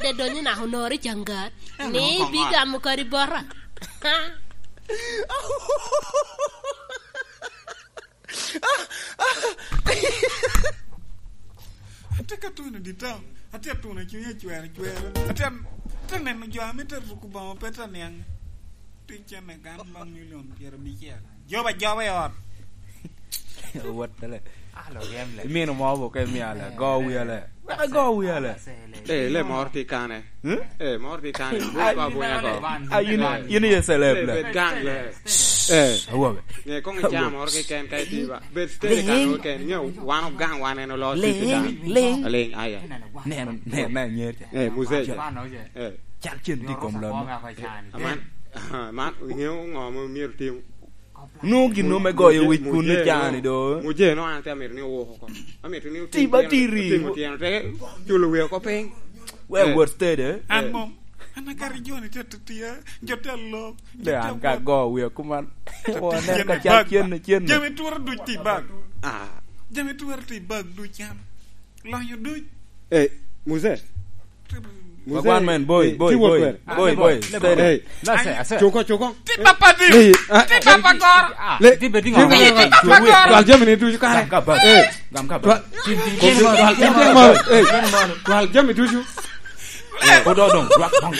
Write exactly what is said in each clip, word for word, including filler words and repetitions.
Edonyo naka onoro i Cangar, ni bigamo kadi bota. Atye ka tuno i dye taun, atye ka tuno i cunya cweracwera, atye, atye ka neno jo ame te ruko bongo pe te niaŋ. Tic cene gan baŋ milion pyerabicel. Joba joba i ot. Wot tele. Imino mo bo ka imio ale, go wi ale. Wek ago wi ale. Eh, le mor ti kane. Hmm? Eh, mor ti kane. Ah, buka buka ko. Ah, yin, yin ye celeb le. Eh, bet gang le. Eh. Awobe. Nge kong ica mor ki ken ka iti ba. Bet steady kan ken. Nge wan ogang wan en olo titi kan. Ling. Aling, aya. Neno, neno, neno, nyer. Eh, muzee. Eh. Cal cen tye i kom lon. Aman, aman, ingeyo ŋo ma myero tim? Nwoŋo gin nwoŋo me goyo wic kun i can-ni do. Muje no an te amito ni owok oko. Amito ni otim Tiba tyen-, tiri. Otimo tyeno te culo wiye oko piny. Wek Eh. wot steady, eh? An Eh. mom. An akari joni te tiya, jo te lok, jo De te an ka wot. go wiye kuman. Te Woneno tiya ka ne cal bag. Cen, cen. Jami twero duc ti bag. Ah. Jami twero ti bag duc an. Lonyo duc. Eh, Muse. Muse, Wagwan men, boy, eh, boy, ti wot boy, kwene. Boy, boy, steady. Eh. Nase, ase. Cuko, cuko. Ti papa di. Ni, ah, Ti papa goro. Ah, le, ti bedi ti ngama. Ti papa goro. Twal jami ni ducu kare. Gam ka bag. Eh. Gam ka bag. Twal, Tin, tin, twal, tin, twal, tin, tin, tin, tin, eh. Tin, tin, Twal jami ducu. Eh, odo dong, rwak dong.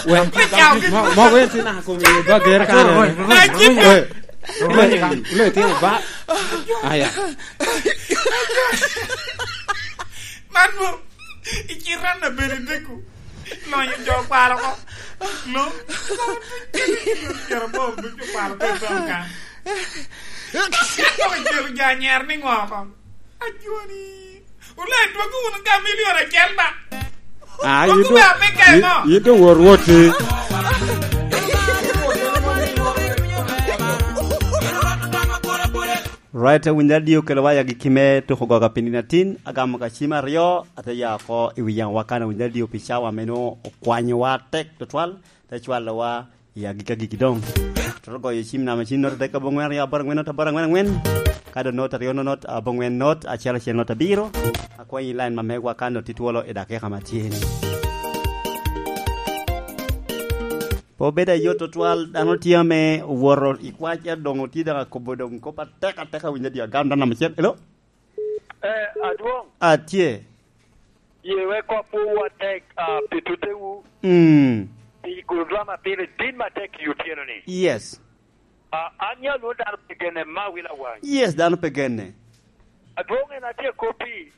Mo, mo, wen tin ako mi ba ger kare. Eh. Le, le, tin ba. Aya. Man mo, i cita na bene deko. Lonyo jo kwaro ko. Lo. Cero bo ducu kwaro pe dong kan. Ka kelo jo anyero ni ŋo ko? Ajoni. Wulai dwogo wunu ka milion acel ba. Ah, Dwogo yin dong, ba me keno. Yin, yin dong wor wot ti. Right, winyo adio kelo wa yagi kime tuko goga piny atin, agamo ka cim aryo, ate ya oko i wi yaŋ wa kan winyo adio pi cawa meno okwanyo wa tek tutwal, te cwalo wa i agikki agikki doŋ. Toto goyo cim namba cim not adek aboŋwen aryo aboro aŋwen not aboro aŋwen aŋwen. Ka doŋ not aryo not not aboŋwen not acel acel not abiro. Akwanyi line ma megwa ka not itwolo i dakika ma tye ni. Pe obedo ayot tutwal, dano tye ame owoto i kwac, ento doŋ otye doŋ akobo doŋ kop atek atek, awinyo adio agam dano namba acel. Hello? Eh, adwoŋ. Atye. Ye wek kop wu atek, ah, pi tutewu. Mm. Pi gulu drama pire tin matek i otyeno ni. Yes. Ah, an ya lwon dano pe genne ma wila wany. Yes, dano pe genne. Adwoŋ en atye kop pi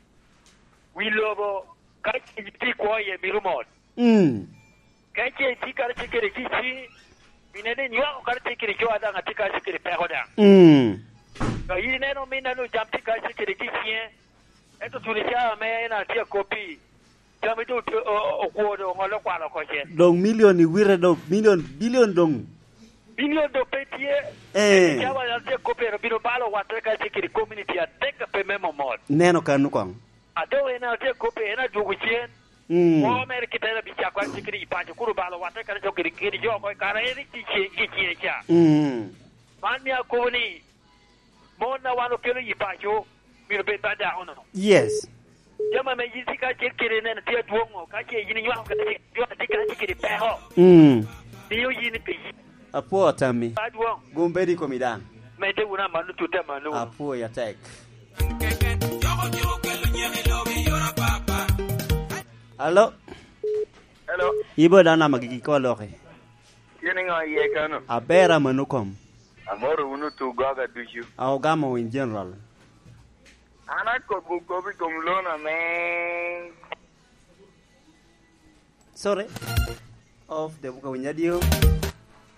wi lobo ka ci tye kwo iye mito mot. Mm. Ka ce itye karacel kede kici, pien en inywako karacel kede jo a daŋ atye karacel kede peko daŋ. Mm. Ka in ineno ominna-nu jam tye karacel kede kiciŋe, ento tuno i caa ame en atye akop-pi, jami doŋ otye, o-, o-, okwo doŋ oŋolle okwalo oko cen. Doŋ milion i wite doŋ, milion, bilion doŋ. Bilion doŋ pe tye. Eh. Ento i caa wan atye akop-pi, en obino balo wattere karacel kede komuniti adek a pe me momot. Neno kanu koŋ. A doŋ en atye akop-pi, en adwogo cen. Mm. Kwo mere kite en abicako an kede i paco, kun obalo watte kadi jo kede, kede jo oko i kare en i tic, i cie ca. Mm. Man mio akobo ni, mon a wan okelo i paco, myero bed ba dako no. Yes. Jami ame yin tye kacel kede en tye adwoŋ o, ka ce yin inywako kede jo a tye kacel kede peko. Mm. Mio yin ipic. Apwoo tammi. Adwoŋ. Gum bed i komi daŋ. Medde wunu amanno, tutte amanno wunu. Apwoo ya tek. Alo? Hello. Ibo dano ama gigi ko loki? Tye niŋo iye kano? Aber amanno kom. Amoro wunu tu goga ducu. A ogamo in general. An akobo kop i kom loan ame Sorry. Of the buka winyo adio.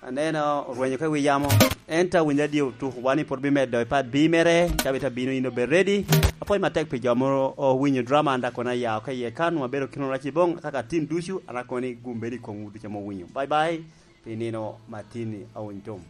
Aneno orwenyo ka wi yamo. Enta winyo adio tuk wan i pwod bimedo i part B mere. Cabit abino in obed ready. Apwoyo matek pi jo mo owinyo drama anda kono aya oke iye kan wabedo kino rac i bong kaka tin ducu an akoni gum bedo i kom wudu ca mo winyo. Bye bye. Pi nino matini awiny tom.